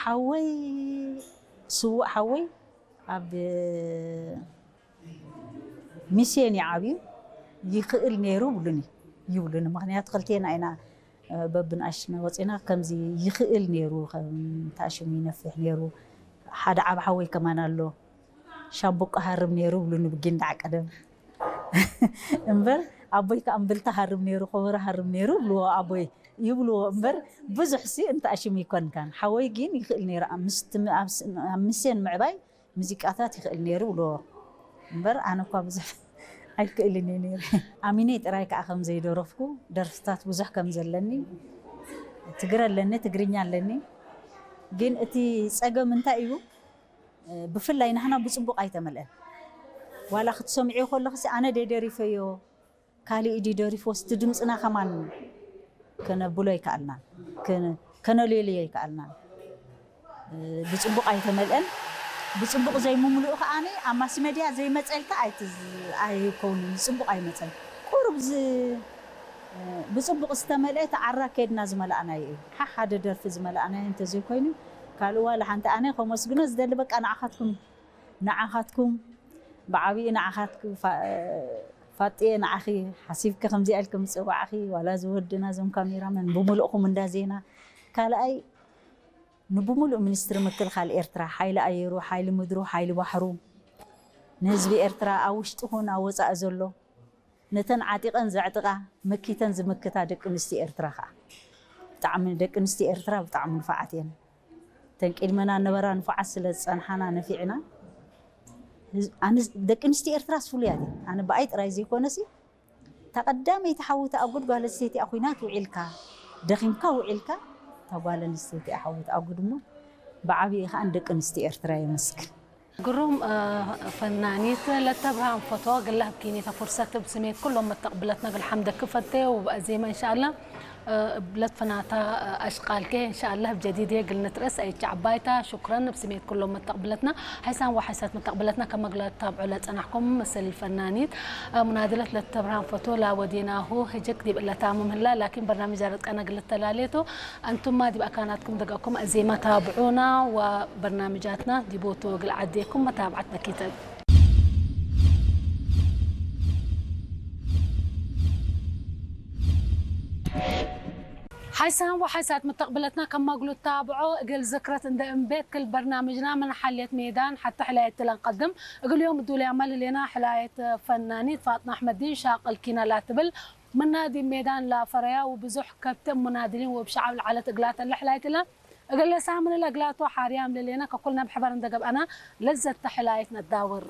ሓወይ፣ ስዉእ ሓወይ ኣብ ሚስዮን እዩ ዓብዩ። ይኽእል ነይሩ ይብሉኒ፣ ይብሉኒ። ምኽንያቱ ክልቴና ኢና፣ እ፣ በብንኣሽና ወፂና። ከምዚ ይኽእል ነይሩ፣ ከም ታሽሙ ይነፍሕ ነይሩ። ሓደ ዓብ ሓወይ ከማን ኣሎ፣ ሻምብቆ ሃርም ነይሩ ይብሉኒ ብጊንዳዕ ቀደም። እምበር ኣቦይ ከኣ እምብልታ ሃርም ነይሩ፣ ኮበሮ ሃርም ነይሩ ይብልዎ ኣቦይ፣ ይብልዎ እምበር ብዙሕ ሲ እንተኣሽሙ ይኮንካን። ሓወይ ግን ይኽእል ነይሩ፣ ኣብ ምስ-፣ ኣብ ስ-፣ ኣብ ሚስዮን ምዕባይ ሙዚቃታት ይኽእል ነይሩ ይብልዎ እምበር ኣነ እኳ ብዙሕ ኣይክእልን እየ ነይረ። ኣሚነይ ጥራይ ከኣ ከም ዘይደረፍኩ፣ ደርፍታት ብዙሕ ከም ዘለኒ፣ ትግረ ኣለኒ፣ ትግርኛ ኣለኒ። ግን እቲ ጸገም እንታይ እዩ? ብፍላይ ናህና ብጽቡቕ ኣይተመልአን። ዋላ ክትሰምዕዮ ከለኽሲ ኣነ ደደሪፈዮ፣ ካልእ ኢዲ ደሪፎ፣ ስቲ ድምጽና ከማን ከነብሎ ኣይከኣልናን፣ ከነ-፣ ከነልልዮ ኣይከኣልናን። ብጽቡቕ ኣይተመልአን። ብጽቡቕ ዘይምምልኡ ከኣ ኣብ ማስ ሜድያ ዘይመጸልካ ኣይትዝ-፣ ኣይከውንን፣ ብጽቡቕ ኣይመጸን። ቁሩብ ዝ-፣ ብጽቡቕ ዝተመልአ ተዓራ ከድና ዝመልኣናዮ እዩ። ሓ-፣ ሓደ ደርፊ ዝመልኣናዮ እንተዘይኮይኑ፣ ካልእ ዋላ ሓንቲ ኣነ ከመስግኖ ዝደሊ በቃ ንዓኻትኩም እዩ። ንዓኻትኩም ብዓብዪ ንዓኻትኩም ፋ-፣ ፋጥየ ንዓኺ ሓሲብኪ ከምዚኣ ኢልኪ ምጽዋዕኺ፣ ዋላ እዚ ወድና እዞም ካሜራመን ብምሉእኹም እንዳ ዜና። ካልኣይ ንብምሉእ ሚኒስትሪ ምክልኻል ኤርትራ፣ ሓይሊ ኣየሩ፣ ሓይሊ ምድሩ፣ ሓይሊ ባሕሩ፣ ንህዝቢ ኤርትራ ኣብ ውሽጢ ኹን ኣብ ወጻኢ ዘሎ ነተን ዓጢቐን ዘዕጥቓ፣ መኪተን ዝምክታ ደቂ ኣንስትዮ ኤርትራ ኸኣ ብጣዕሚ፣ ደቂ ኣንስትዮ ኤርትራ ብጣዕሚ ንፉዓት እየን። እተን ቅድመና ነበራ ንፉዓት ስለ ዝጸንሓና ነፊዕና። ህዝ-፣ ኣነ ደቂ ኣንስትዮ ኤርትራስ ፍሉያት እየን። ኣነ ብኣይ ጥራይ ዘይኮነሲ፣ እታ ቀዳመይቲ ሓዊ ተኣጉድ ጓል ኣንስተይቲ እያ። ኲናት ውዒልካ፣ ደኺምካ ውዒልካ፣ እታ ጓል ኣንስተይቲ እያ ሓዊ ተኣጉድ እሞ፣ ብዓብዪ ኸኣ ንደቂ ኣንስትዮ ኤርትራ የመስግን። ግሩም፣ እ፣ ፈናኒት ለተ ብርሃን ፎቶ፣ ግለ ህብኪኒ ተፉርሰት ብስሜት ኩሎም መተቕብለትና ግል ሓምደ ክፈቴ ወብኣዜማ እንሻኣላ። እ፣ ብለት ፈናታ፣ እ፣ ኣሽቃልከ እንሻኣላ ብጀዲድ ግል ንትረስ ኣይቻ ዓባይታ። ሹክረን ብስሜት ኩሎም መተቕብለትና፣ ሓይሳን ወሓይሳት መተቕብለትና ከመግላ ታብዑ ለጸናሕኩም ምስል ፈናኒት፣ እ፣ ሙናድለት ለተ ብርሃን ፎቶ ላወዲናሁ ህጅክ ዲብ እለታ ሙምህላ ላኪን በርናምጃ ረጥቀና ግል ተላሌቱ። ኣንቱማ ዲብ ኣካናትኩም ደገኩም ኣዜማ ታብዑና ወበርናምጃትና ዲቦቶ ግል ዓዴኩም መታብዓት በኪተን። ሓይሳን ወሓይሳት መተቕብለትና ከማግሉ ታብዖ እግል ዝክረት እንደ እምቤት ክል በርናምጅና ምን ሓልየት ሜዳን ሓታ ሕላየት ለንቀድም እግል ዮም ዱልያ መልሌና ሕላየት ፈናኒት ፋጥና ኣሕመዲን ሻቅል ኪና ላትብል ምና ዲብ ሜዳን ላፈረያ ወብዙሕ ከብት ሙናድሊን ወብሸዓብ ለዓለት እግላተን ለሕላይት እለ። እግለ ሳምን እለ እግላቶ ሓርያም ለሌና ከኩልና ብሕበር እንደ ገብአና ለዘተ ሕላይት ነዳውር።